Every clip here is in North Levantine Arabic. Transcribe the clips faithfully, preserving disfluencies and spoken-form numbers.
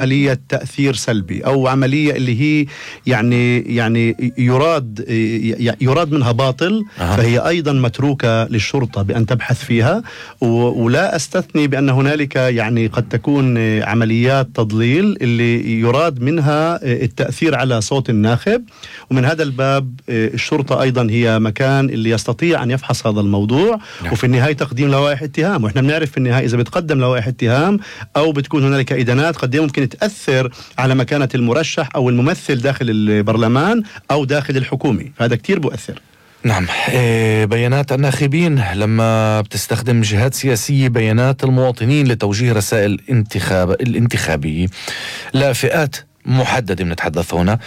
عملية تأثير سلبي أو عملية اللي هي يعني يعني يراد يراد منها باطل، أه. فهي أيضا متروكة للشرطة بأن تبحث فيها، ولا أستثني بأن هنالك يعني قد تكون عمليات تضليل اللي يراد منها التأثير على صوت الناخب، ومن هذا الباب الشرطة أيضا هي مكان اللي يستطيع أن يفحص هذا الموضوع، نعم. وفي النهاية تقديم لوائح اتهام، وإحنا بنعرف في النهاية إذا بتقدم لوائح اتهام أو بتكون هنالك إدانات قد ممكن تأثر على مكانة المرشح أو الممثل داخل البرلمان أو داخل الحكومة، فهذا كتير بؤثر. نعم. إيه بيانات الناخبين لما بتستخدم جهات سياسية بيانات المواطنين لتوجيه رسائل الانتخاب الانتخابية لفئات محددة بنتحدث هنا،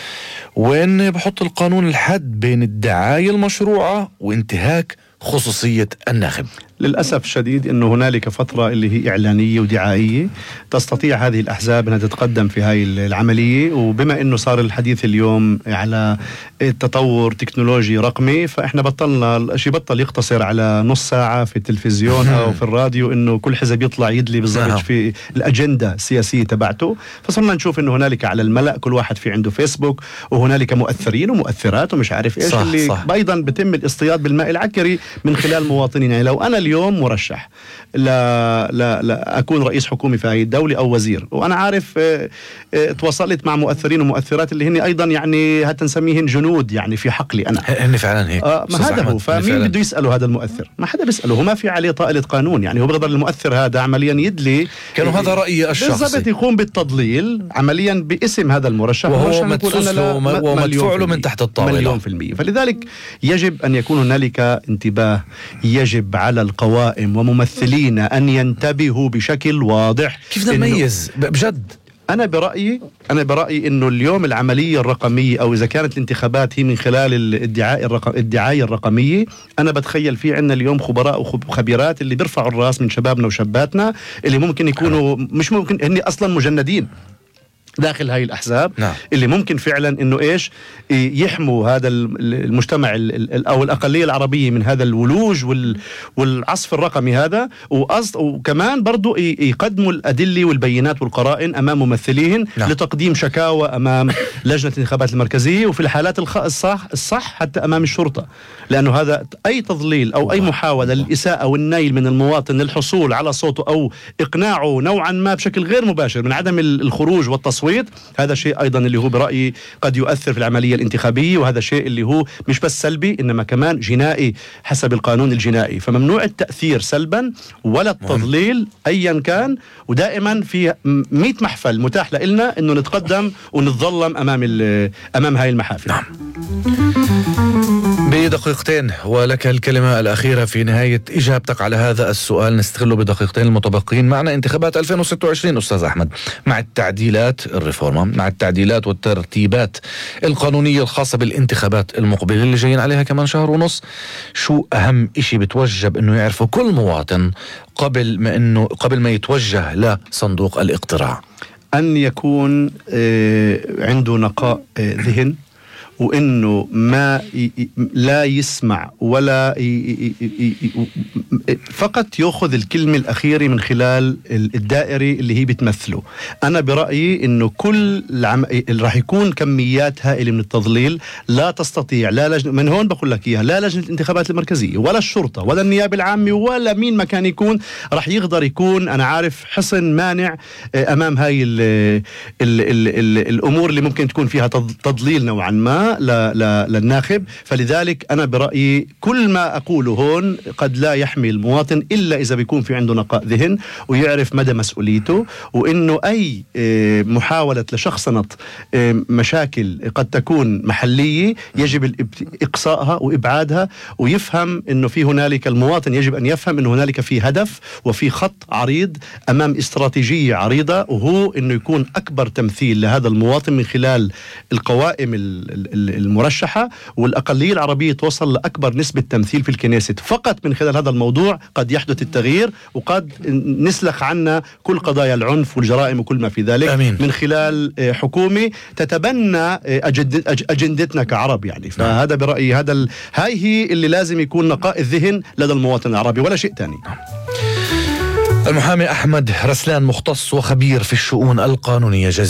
وين بحط القانون الحد بين الدعاية المشروعة وانتهاك خصوصية الناخب. للأسف الشديد أنه هنالك فترة اللي هي إعلانية ودعائية تستطيع هذه الأحزاب أنها تتقدم في هاي العملية، وبما أنه صار الحديث اليوم على التطور تكنولوجي رقمي، فإحنا بطلنا الشيء بطل يقتصر على نص ساعة في التلفزيون أو في الراديو أنه كل حزب يطلع يدلي بالضبط في الأجندة السياسية تبعته، فصرنا نشوف أنه هنالك على الملأ كل واحد في عنده فيسبوك، وهنالك مؤثرين ومؤثرات ومش عارف إيش، صح اللي صح. أيضا بتم الاصطياد بالماء العكري من خلال مواطنين. يعني لو أنا اليوم مرشح لا لا لا أكون رئيس حكومي في هذه الدولة أو وزير، وأنا عارف اه اه تواصلت مع مؤثرين ومؤثرات اللي هن أيضا يعني هات نسميهن جنود يعني في حقلي أنا، هن فعلا هيك. آه ما هذا هو، فمين بده يسأله هذا المؤثر؟ ما حدا بيسأله، هو ما في عليه طائلة قانون، يعني هو بيقدر المؤثر هذا عمليا يدلي كانوا هذا رأيي الشخصي بالضبط، يقوم بالتضليل عمليا باسم هذا المرشح وهو مدفوع له من تحت الطاولة مليون في المية. فلذلك يجب أن يكون هنالك انتباه، يجب على القوائم وممثلين أن ينتبهوا بشكل واضح. كيف نميز بجد؟ أنا برأيي أنا برأيي إنه اليوم العملية الرقمية أو إذا كانت الانتخابات هي من خلال الادعاء الرقم الدعاية الرقمية، أنا بتخيل في عنا اليوم خبراء وخبيرات اللي بيرفعوا الراس من شبابنا وشاباتنا اللي ممكن يكونوا مش ممكن هني أصلا مجندين داخل هاي الأحزاب، نعم. اللي ممكن فعلا إنه إيش يحموا هذا المجتمع أو الأقلية العربية من هذا الولوج والعصف الرقمي هذا، وأصد وكمان برضو يقدموا الأدلة والبينات والقرائن أمام ممثليهن، نعم. لتقديم شكاوى أمام لجنة الانتخابات المركزية، وفي الحالات الصح الصح حتى أمام الشرطة، لأنه هذا أي تضليل أو أي محاولة للإساءة والنيل من المواطن للحصول على صوته أو إقناعه نوعا ما بشكل غير مباشر من عدم الخروج والتصويت، هذا شيء أيضا اللي هو برأيي قد يؤثر في العملية الانتخابية، وهذا شيء اللي هو مش بس سلبي إنما كمان جنائي حسب القانون الجنائي. فممنوع التأثير سلبا ولا التضليل أيا كان، ودائما في مئة محفل متاح لنا إنه نتقدم ونتظلم أمام أمام هاي المحافل. نعم. بدقيقتين ولك الكلمة الأخيرة في نهاية إجابتك على هذا السؤال، نستغله بدقيقتين المتبقين معنا. انتخابات ألفين وستة وعشرين أستاذ أحمد، مع التعديلات الريفورما مع التعديلات والترتيبات القانونية الخاصة بالانتخابات المقبلة اللي جايين عليها كمان شهر ونص، شو أهم إشي بتوجب إنه يعرفه كل مواطن قبل ما إنه قبل ما يتوجه لصندوق الاقتراع؟ أن يكون عنده نقاء ذهن، وإنه ما لا يسمع ولا فقط يأخذ الكلمة الأخيرة من خلال الدائري اللي هي بتمثله. أنا برأيي إنه كل العم... راح يكون كميات هائلة من التضليل، لا تستطيع لا لجنة، من هون بقول لك إياها، لا لجنة الانتخابات المركزية ولا الشرطة ولا النيابة العامة ولا مين ما كان يكون راح يقدر يكون أنا عارف حصن مانع أمام هاي ال ال ال ال الأمور اللي ممكن تكون فيها تضليل نوعا ما للناخب. فلذلك أنا برأيي كل ما أقوله هون قد لا يحمي المواطن إلا إذا بيكون في عنده نقاء ذهن ويعرف مدى مسؤوليته، وإنه أي محاولة لشخصنة مشاكل قد تكون محلية يجب إقصائها وإبعادها، ويفهم إنه في هنالك المواطن يجب أن يفهم إنه هنالك في هدف وفي خط عريض أمام استراتيجية عريضة، وهو إنه يكون أكبر تمثيل لهذا المواطن من خلال القوائم المرشحة، والأقلية العربية توصل لأكبر نسبة تمثيل في الكنيست. فقط من خلال هذا الموضوع قد يحدث التغيير، وقد نسلخ عنا كل قضايا العنف والجرائم وكل ما في ذلك. أمين. من خلال حكومة تتبنى أجندتنا كعرب يعني. فهذا برأيي هذا ال... هاي هي اللي لازم يكون نقاء الذهن لدى المواطن العربي ولا شيء تاني. المحامي أحمد رسلان مختص وخبير في الشؤون القانونية.